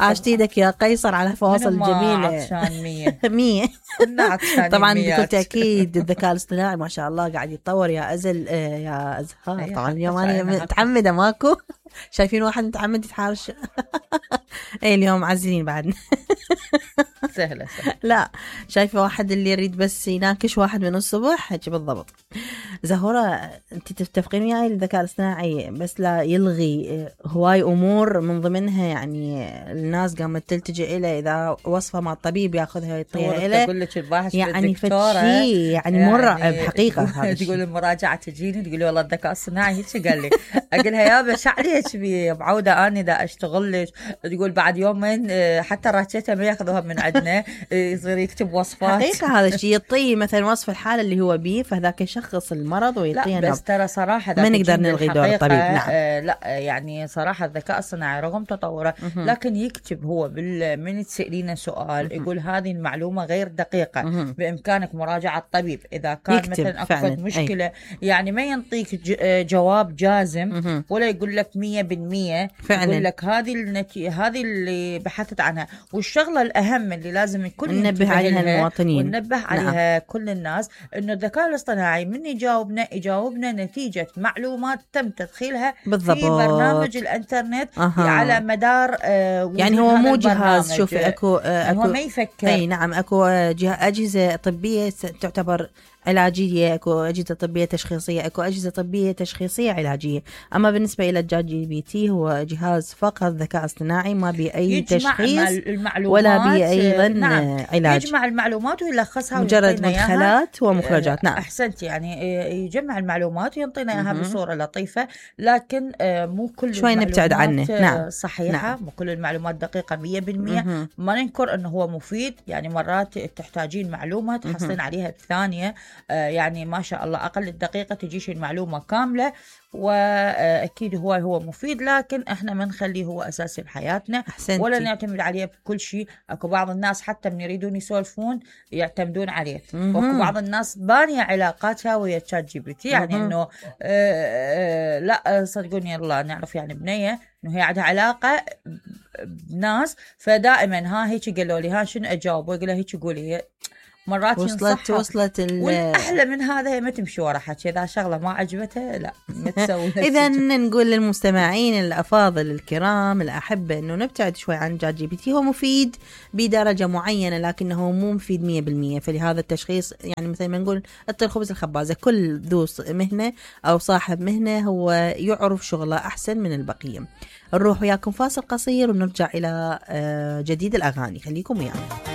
عاشت ايدك يا قيصر على فواصل الجميلة. عطشان 100 100 طبعا بكل تأكيد الذكاء الاصطناعي ما شاء الله قاعد يتطور يا أزل يا أزهار. طبعا اليوم أنا متعمدة ماكو شايفين واحد متعمد يتحارش. ايه اليوم معزلين بعدنا. سهلة. لا شايفة واحد اللي يريد بس يناكش واحد من الصبح هيك بالضبط. زهورة انت تتفقين وياي الذكاء الاصطناعي بس لا يلغي هواي امور من ضمنها يعني الناس قامت تلتجئ إليه اذا وصفة مع الطبيب ياخذها يعطيها إليه. تقول لك الباحث يعني فتشي يعني مرعب حقيقة. تقول المراجعة تجيني تقولي والله الذكاء الصناعي هيك قال لي. اقولها يا بس عليك بي بعودة اني دا اشتغل لك. تقول بعد يومين حتى راتيته ما ياخذوها من عندنا يصير يكتب وصفات. حقيقة هذا الشيء يعطيه مثلا وصف الحالة اللي هو بيه فذاك يشخص المرض ويعطيه. لا بس ترى صراحة ما نقدر نلغي دور الطبيب. نعم. لا يعني صراحة الذكاء الصناعي رغم تطوره لكن يكتب هو من تسألينه سؤال يقول هذه المعلومة غير دقيقة بإمكانك مراجعة الطبيب إذا كان مثلا أكبر مشكلة. يعني ما ينطيك جواب جازم ولا يقول لك 100%. يقول لك هذه اللي بحثت عنها. والشغلة الأهم اللي لازم الكل ننبه عليها المواطنين وننبه عليها كل الناس إنه الذكاء الاصطناعي من يجاوبنا نتيجة معلومات تم تدخيلها بالضبط في برنامج الانترنت على مدار يعني هو مو جهاز. شوفي اكو هو ما يفكر. اي نعم اكو اجهزة طبية تعتبر علاجية. اكو أجهزة طبية تشخيصية اكو أجهزة طبية تشخيصية علاجية. اما بالنسبة الى الجات جي بي تي هو جهاز فقط ذكاء اصطناعي ما بي اي تشخيص ولا بي ايضا علاج. يجمع المعلومات ويلخصها مجرد مدخلات ومخرجات. نعم احسنت. يعني يجمع المعلومات وينطينا اياها بصورة لطيفة لكن مو كل شوي نبتعد عنه. نعم صحيحة. نعم. مو كل المعلومات دقيقة 100%. ما ننكر انه هو مفيد. يعني مرات تحتاجين معلومة تحصلين عليها بثانية. يعني ما شاء الله أقل الدقيقة تجيش المعلومة كاملة وأكيد هو مفيد لكن إحنا ما نخليه هو أساسي بحياتنا ولا نعتمد عليه بكل شيء. أكو بعض الناس حتى من يريدون يسولفون يعتمدون عليه. وأكو بعض الناس بانية علاقاتها ويا تشات جي بي تي. يعني إنه لا صدقوني الله نعرف يعني بنية إنه هي عندها علاقة بناس فدائما هيك قالوا لي شنو أجاوب ويقولها هيك قولي. مرات وصلت والأحلى من هذا هي ما تمشي ورا حكي. إذا شغلة ما عجبتها لا ما تسوي. إذا نقول للمستمعين الأفاضل الكرام الأحبة إنه نبتعد شوي عن جات جي بي تي. هو مفيد بدرجة معينة لكنه مو مفيد 100%. فلهذا التشخيص يعني مثل ما نقول الطير خبز الخبازة. كل ذو مهنة أو صاحب مهنة هو يعرف شغله أحسن من البقية. نروح وياكم فاصل قصير ونرجع إلى جديد الأغاني. خليكم ويانا.